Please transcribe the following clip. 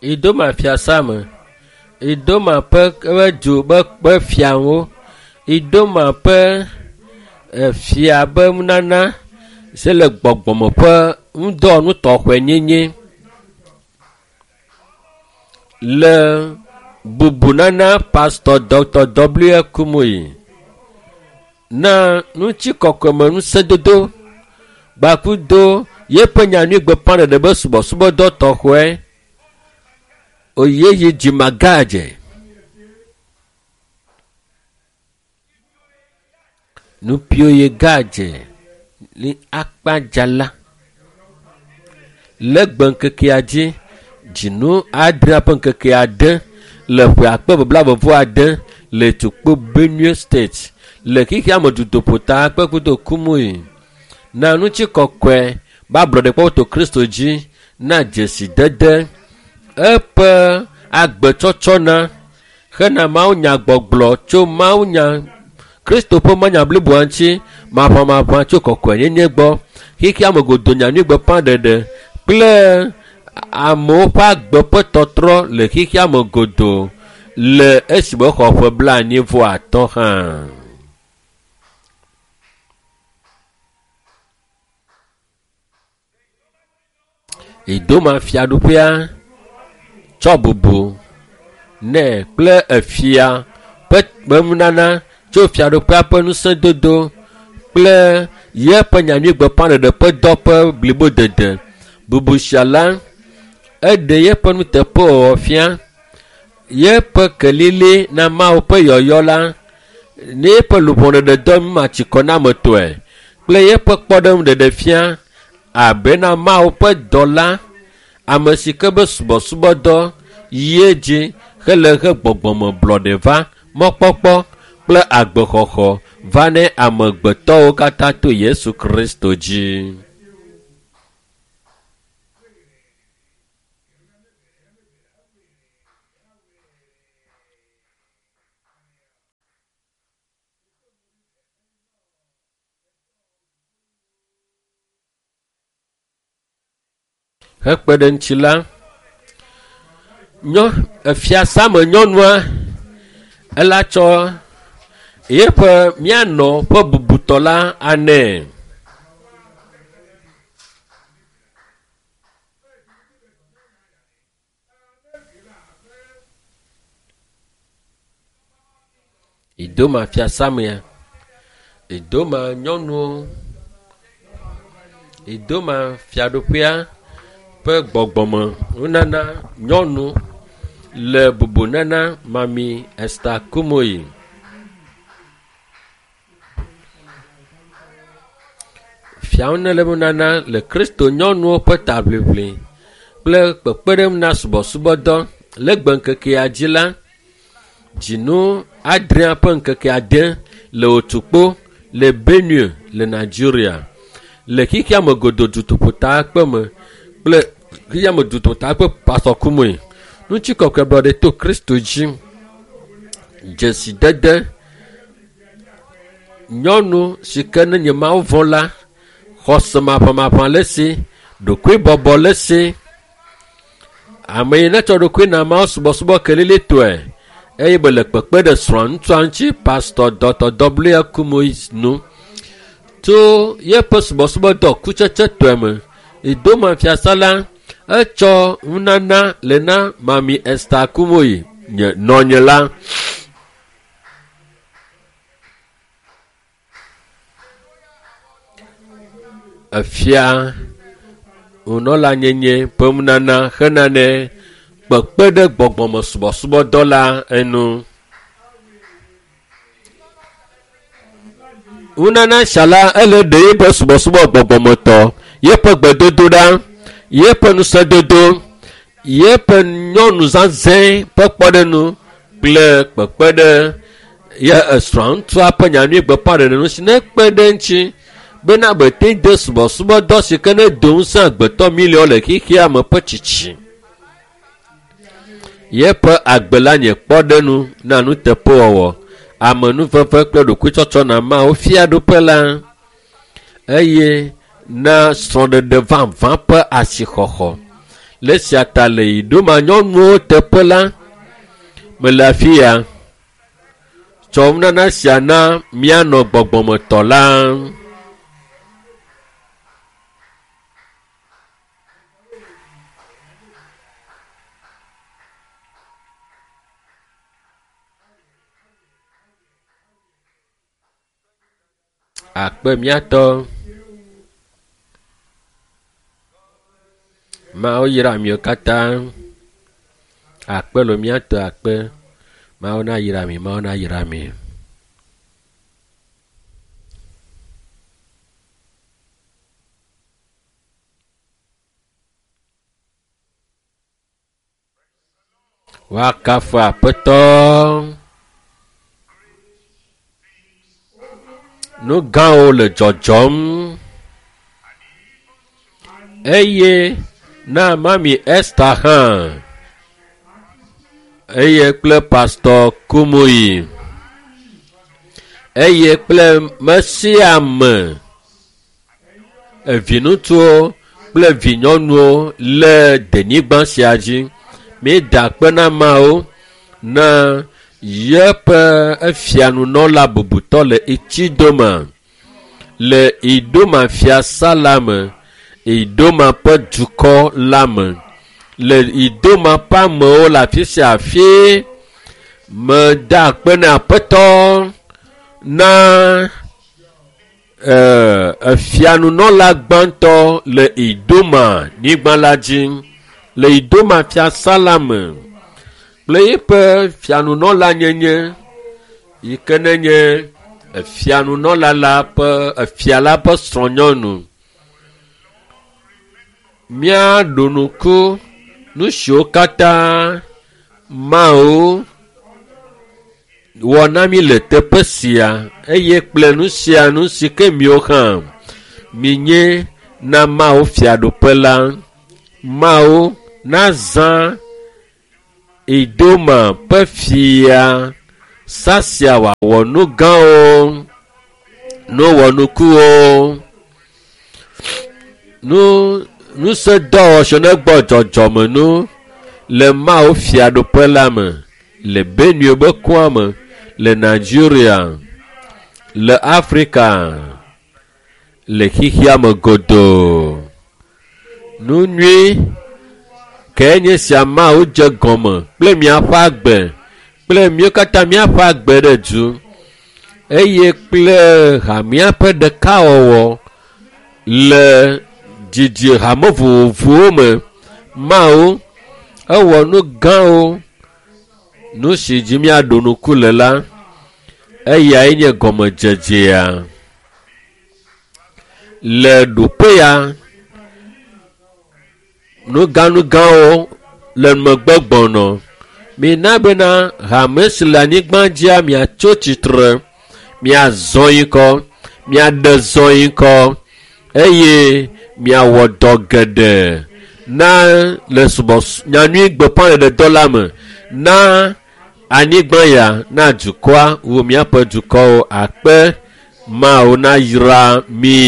Idoma fiasa me, Idoma ƒe ƒe du ƒe ƒe fiawo, Idoma ƒe efia be nunana si le gbɔgbɔme ƒe ŋudɔwɔnu tɔxɛ nyenye le bubunana Pastor Dr. W. Kumuyi na ŋutikɔkɔeme ŋusẽdodo gbakudo yeƒe nyanyuigbeƒãɖeɖe be subɔsubɔdɔ tɔxɛ oyeyi dzimagadze. Nupioye gadze li akpadzala le gbe ŋkekea dzi dzinu adrea ƒe ŋkeke ade le ƒe akpe blaeve vɔ ade le Tukpo Benue State le xexea me dutoƒota kpekudo Kumuyi na ŋutikɔkɔe be ablɔɖekpɔkpɔ to Kristo dzi na dzesidede eƒe agbetsɔtsɔna hena mawunyagbɔgblɔ tso mawunya Kristo ƒe manya bliboa ŋuti maʋamaʋã tso kɔkɔenyenye gbɔ xexea me godo nyanyuigbeƒãɖeɖe kple amewo ƒe agbe ƒe tɔtrɔ le xexea me godoo le esime xɔ ƒe 45 hã. Idoma fiaɖuƒea tsɔ bubu nɛ kple efia ƒe nunana tso fiaɖuƒea ƒe ŋusẽdodo kple yeƒe nyanyuigbeƒãɖeɖe ƒe dɔ ƒe blibodede. Bubu sia la, eɖe yeƒe nuteƒewɔwɔ fia, yeƒe kelili na Mawu ƒe yɔyɔ la, ne yeƒe luʋɔɖeɖedɔ numatsikɔnametɔe kple yeƒe kpɔɖeŋuɖeɖe fia abe na Mawu ƒe dɔla, ame si ke be subɔsubɔdɔ yi edzi hele he gbɔgbɔmeblɔɖe va, mɔkpɔkpɔ kple agbexɔxɔ va ne amegbetɔwo katã to Yesu Kristo dzi. Hekpe ɖe ŋuti la, nyɔ efiasame nyɔnua ela tsɔ yeƒe míanɔ ƒe bubutɔ la anɛ. Idoma fiasamea, Idoma nyɔnuwo, Idoma fiaɖuƒea ƒe gbɔgbɔme nunana nyɔnu le bubunana Mami Esther Kumuyi. Fiawo ne le nunana le Kristo nyɔnuwo ƒe taʋliʋli kple kpekpeɖeŋu na subɔsubɔdɔ le gbe ŋkekea dzi la, dzinu adrea ƒe ŋkeke ade le Otukpo le Benue le Nigeria. Le xexea me godoo dutoƒotakpe me kple xexea me dutoƒotakpe Pastor Kumuyi. Ŋutikɔkɔe blɔɖe to Kristo dzi. Dzesidede nyɔnu si ke ne nye Mawu vɔ̃ la, xɔse maʋamaʋã le esi, ɖokuibɔbɔ le esi. Ame yi netsɔ ɖokui na Mawu subɔsubɔ kelilitɔe eye be le kpekpe ɖe srɔ̃a ŋutsua ŋuti Pastor Dr. W. Kumuyi nu tso yeƒe subɔsubɔdɔ kutsetsetɔe me. Idoma fiasa la etsɔ nunana le na Mami Esther Kumuyi nye nɔnye la. Efia nunɔlanyenye ƒe nunana hena ne kpekpe ɖe gbɔgbɔme subɔsubɔdɔ la enu. Nunana sia la ele ɖe yeƒe subɔsubɔ gbɔgbɔmetɔ, yeƒe gbedodoɖa, yeƒe ŋusẽdodo, yeƒe nyɔnu zazɛ̃ ƒe kpɔɖeŋu kple kpekpe ɖe ye esrɔ̃a ŋutsua ƒe nyanyuigbeƒãɖeɖe ŋuti nekpe ɖe eŋuti bena bete de subɔsubɔdɔ si ke ne do ŋusẽ agbetɔ miliɔn le xexea me ƒe tsitsi. Yeƒe agbe la nye kpɔɖeŋu na nuteƒewɔwɔ, amenuveve kple ɖokuitsɔtsɔ na Mawu fiaɖuƒe la eye na srɔ̃ɖeɖe vavã ƒe asixɔxɔ. Le sia ta le Idoma nyɔnuwo teƒe la, mele afi ya. Tsɔ nunana sia na míanɔ gbɔgbɔmetɔ la. Akpe míatɔ. Mawu yra miwo katã. Akpe lo míatɔ akpe. Mawu na yra mi, Mawu na yra mi. Woakafu Aƒetɔ. Nu gãwo le dzɔdzɔm eye na mami Esther hã eye kple pastor Kumuyi eye kple mesiame evinutsuwo kple vinyɔnuwo le denyigba sia dzi. Míeda akpe na Mawu na yeƒe efianunɔla bubutɔ le Itsidoma le Idoma fiasa la me, Idoma ƒe dukɔ la me. Le Idoma ƒe amewo le afi sia afi meda akpe na Aƒetɔ na efianunɔla gbãtɔ le Idoma nyigba la dzi le Idoma fiasa la me kple eƒe fianunɔla nyenye yi ke nenye efianunɔla la ƒe efia la ƒe srɔ̃nyɔnu. Míaɖo ŋku nu siwo katã Mawu wɔ na mí le teƒe sia eye kple nu sia nu si ke miwo hã minye na Mawu fiaɖuƒe la. Mawu nazã Idoma ƒe fia sasia wòawɔ nu gãwo, nu wɔnukuwo, nu ŋusẽdɔwɔwɔ negbɔ dzɔdzɔmenu le Mawu fiaɖuƒe la me le Benue be kɔa me le Nigeria, le Afrika, le xexea me godoo. Nu nyui ke nye sia Mawu dze gɔme kple miaƒe agbe kple míwo katã míaƒe agbe ɖe du eye kple hamea ƒe ɖekawɔwɔ le dzidzi hame vovovowo me. Mawu ewɔ nu gãwo. Nu si dzi míaɖo ŋku le la, eyae nye gɔmedzedzea. Le ɖoƒe ya, nugãnugãwo le megbe gbɔnɔ. Mina bena hame si le anyigba dzia miatso tsitre, miazɔ yi kɔ, miaɖe zɔ yi kɔ eye miawɔ dɔ geɖe na le subɔs nyanyui gbeƒãɖeɖedɔ la me na anyigba ya na dukɔa wu míaƒe dukɔwo akpe Mawu na yra mi.